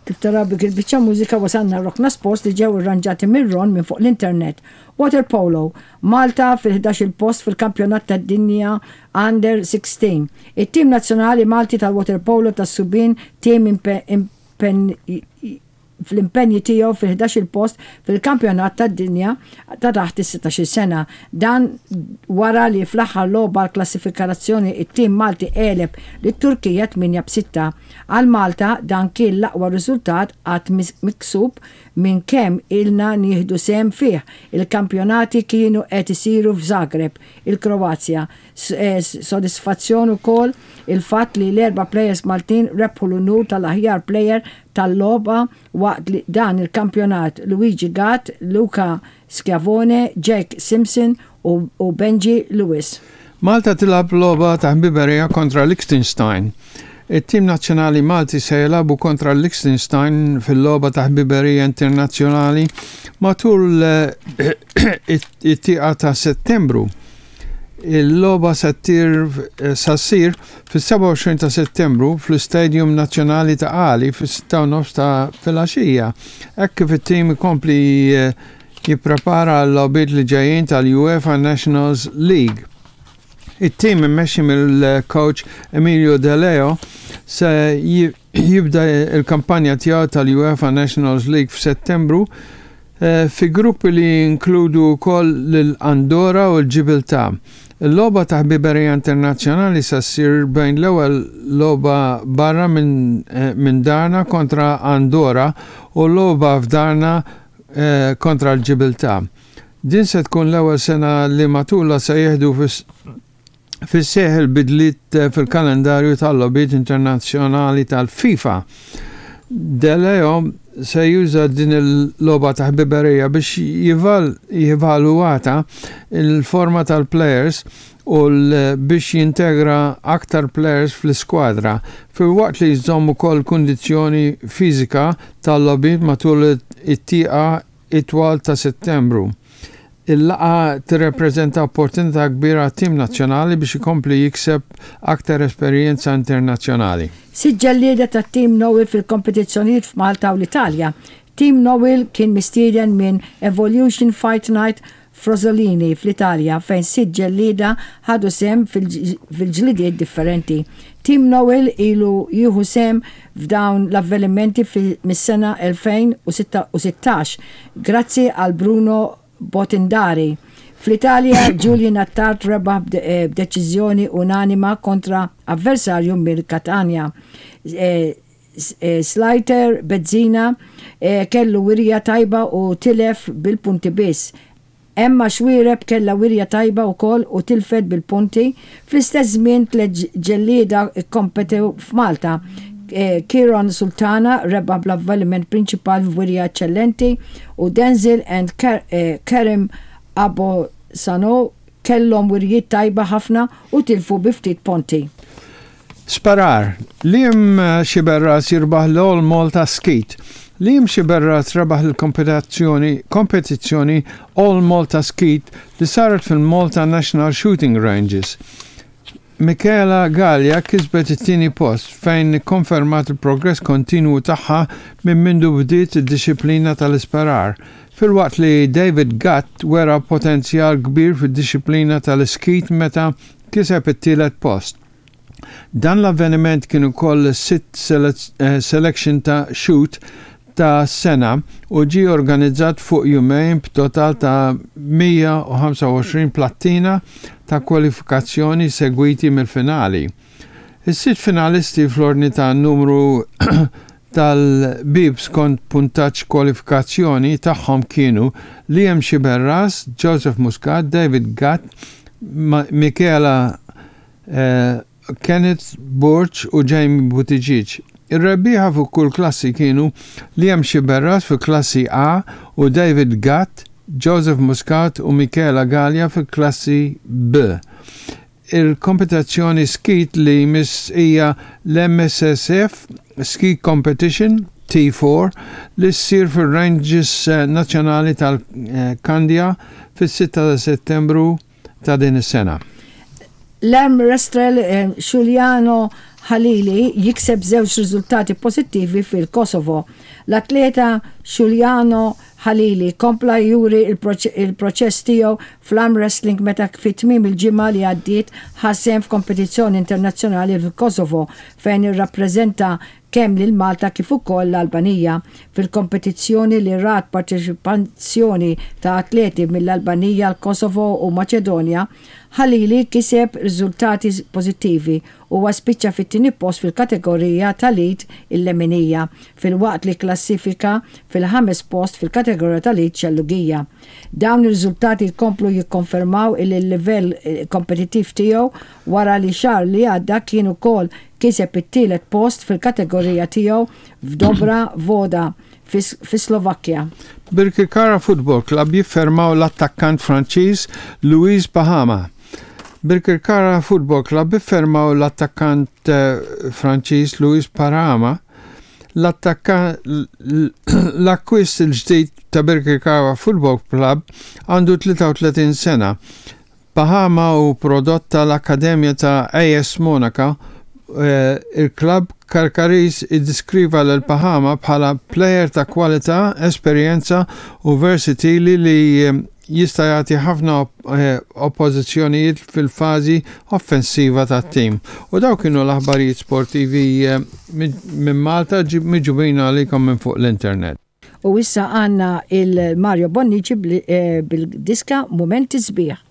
Kif taraw b'dik il-biċċa mużika wasalna Rokna Sports li ġew irranġati minn Ron minn fuq l-internet. Waterpolo, Malta fil-ħdax-il post fil-Kampjonat tad-Dinja Under 16. It-tim nazzjonali Malti tal-waterpolo tas-subien team fl-impenji tiegħu fil-ħdax-il post fil-Kampjonat tad-Dinja ta' taħt is-sittax-il sena. Dan wara li fl-aħħar logħba għall-klassifikarazzjoni t-tim Malti għeleb lit-Turkija 8 b' 6. Għal Malta dan kien l-aqwa riżultat qatt miksub minn kemm ilna nieħdu sehem fih. Il-kampjonati kienu qed isiru f'Zagreb, il-Kroazja. Sodisfazzjon ukoll il-fatt li l-erba' plejers Maltin rebħu l-unur tal-aħjar plejer tal-logħba waqt dan il-kampjonat, Luigi Gatt, Luca Schiavone, Jake Simpson u Benji Lewis. Malta tilgħab logħba ta' ħbiberija kontra Liechtenstein. It-tim nazzjonali Malti se jilagħbu kontra Liechtenstein fil-logħba ta' ħbiberija internazzjonali matul it-tieqa ta' Settembru. Il-logħba se sa ssir fis-27 ta' Settembru fl-Istadium Nazzjonali ta' Qali fis-6:30 ta' filgħaxija, hekk kif it-tim ikompli jipprepara għal-logħbiet li ġejjin tal-UEFA Nationals League. It-tim immexxi mill-coach Emilio De Leo se jibda l-kampanja tiegħu tal-UEFA Nationals League f'Settembru eh, fi gruppi li jinkludu wkoll lil Andorra u l-Ġibiltà. Il-logħba ta' ħbiberija internazzjonali se ssir bejn l-ewwel logħba barra minn eh, min darna kontra Andorra u logħba f'darna eh, kontra l-Ġibiltà. Din se tkun l-ewwel sena li matulha se jieħdu fis-seħħ il-bidliet fil-kalendarju tal-logħbiet internazzjonali tal-FIFA. De Leo se juża din il-logħba ta' ħbiberija biex jivaluwata l-forma tal-plejers u biex jintegra aktar plejers fl-iskwadra, filwaqt li jżomm ukoll kundizzjoni fiżika tal-logħbiet matul it-tieqa itwal ta' Settembru. Il-laqgħa tirrepreżenta opportunità kbira għat-tim nazzjonali biex ikompli jikseb aktar esperjenza internazzjonali. Sitt ġellieda tat-Team Noel fil-kompetizzjonijiet f'Malta u l-Italja. Team Noel kien mistieden minn Evolution Fight Night Frosolini fl-Italja fejn sitt ġellieda ħadu sehem fil-ġlidiet differenti. Team Noel ilu jieħu sehem f'dawn l-avvenimenti mis-sena 2016 grazzi għal Bruno Botindari. Fl-Italja, Julian Attard rebaħ b'deċiżjoni unanima kontra avversarju mill-Katanja. Slater Bezzina kellu wirja tajba u tilef bil-punti biss. Emma Xuereb kellha wirja tajba wkoll u tilfet bil-punti. Fl-istess żmien tliet ġellieda kkompetew f'Malta. Kieron Sultana rebaħ bl-avvaliment prinċipal f'wirja eċċellenti u Denzil and Kerim Abosano kellhom wirjiet tajba ħafna u tilfu bi ftit ponti. Sparar, Liam Sciberras jirbaħ l-All Malta Skeet. Liam Sciberras rebaħ il-kompetizzjoni kompetizzjoni All Malta Skeet li saret fil-Malta National Shooting Ranges. Michaela Galea kisbet it-tieni post fejn ikkonfermat il-progress kontinwu tagħha minn mindu bdiet id-dixxiplina tal-isparar, filwaqt li David Gatt wera potenzjal kbir fid-dixxiplina tal-iskeet meta kiseb it-tielet post. Dan l-avveniment kien ukoll is-sitt selection ta' shoot tas-sena u ġie organizzat fuq jumejn b'total ta' 125 plattina ta' kwalifikazzjoni segwiti mill-finali. Is-sitt finalisti fl-ordni ta' numru tal-bieb skont puntaġġ kwalifikazzjoni tagħhom kienu Liam Sciberras, Joseph Muscat, David Gatt, Michela Kenneth Borg u Jamie Buttigieg. Ir-rebbieħa fuq kull klassi kienu Liam Sciberras fil-klassi A u David Gatt, Joseph Muscat u Michela Galea fil-klassi B. Il-kompetizzjoni skeet li jmiss hija l-MSSF Ski Competition T4 li ssir fir-Ranges Nazzjonali tal-Kandja fis-6 ta' Settembru ta' din is-sena. L-arm wrestler Juliano Halili jikseb żewġ riżultati pożittivi fil-Kosovo. L-atleta Xhuliano Halili kompla juri l-proċess tiegħu fl-arm wrestling meta fi tmiem il-ġimgħa li għaddiet ħa sehem f'kompetizzjoni internazzjonali fil-Kosovo fejn irrappreżenta kemm lil Malta kif ukoll l-Albanija fil-kompetizzjoni li rat parteċipazzjoni ta' atleti mill-Albanija, l-Kosovo u Maċedonja. Halili kiseb riżultati pożittivi Huwa spiċċa fit-tieni post fil-kategorija tal-id il-leminija, filwaqt li kklassifika fil-ħames post fil-kategorija tal-id xellugija. Dawn ir-riżultati jkomplu jikkonfermaw illi l-livell kompetittiv tiegħu wara li xahar li għadda kien ukoll kiseb it-tielet post fil-kategorija tiegħu f'Dobra Voda fis-Slovakkja. Birkirkara Football Club jiffermaw l-attakkant Franċiż Louis Pahama. Birkirkara Football Club iffermaw l-attakkant Franċiż Louis Parama. L-akkwist il-ġdid ta' Birkirkara Football Club għandu 33 sena. Pahama hu prodott tal-akkademja ta' AS Monaco. Il-klabb Karkariż iddeskriva lil Pahama bħala plejer ta' kwalità, esperjenza u versatili li jista' jagħti ħafna oppożizzjonijiet fil-fażi offensiva tat-tim. U dawk kienu l-aħbarijiet sportivi minn Malta miġubin għalikom minn fuq l-internet. U issa għandna il-Mario Bonnici bil-diska Mumenti Sbieħ.